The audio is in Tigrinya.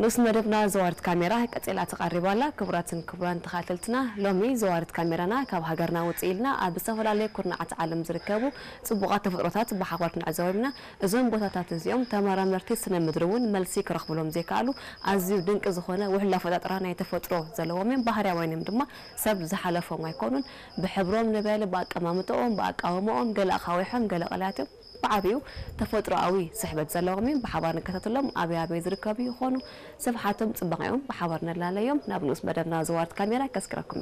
ንኡስ መደብና ዘዋርት ካሜራ ቀጺላ ትቐርብ ኣላ። ክቡራትን ክቡራን ተኸታተልትና፣ ሎሚ ዘዋርት ካሜራና ካብ ሃገርና ውጽእ ኢልና ኣብ ዝተፈላለዩ ኩርናዓት ዓለም ዝርከቡ ጽቡቓት ተፈጥሮታት ብሓባር ክንዕዘቦም ኢና። እዞም ቦታታት እዚኦም ተመራመርቲ ስነ ምድሪ እውን መልሲ ክረኽብሎም ዘይከኣሉ ኣዝዩ ድንቂ ዝኾነ ውሕሉል ኣፈጣጥራ ናይ ተፈጥሮ ዘለዎም እዮም። ባህርያውያን እዮም ድማ፣ ሰብ ዝሓለፎም ኣይኮኑን። ብሕብሮም ንበል፣ ብኣቀማምጥኦም፣ ብኣቃውምኦም፣ ገለ ኣኻዊሖም፣ ገለ ቀላያት እዮም። ብዓቢኡ ተፈጥሮኣዊ ስሕበት ዘለዎም እዮም። ብሓባር ንከታተሎም። ኣበይ ኣበይ ዝርከቡ ይኾኑ? ስፍሓቶም፣ ጽባቐኦም ብሓባር ነላለዮም። ናብ ንኡስ መደብና ዘዋርት ካሜራ ከስክረኩም።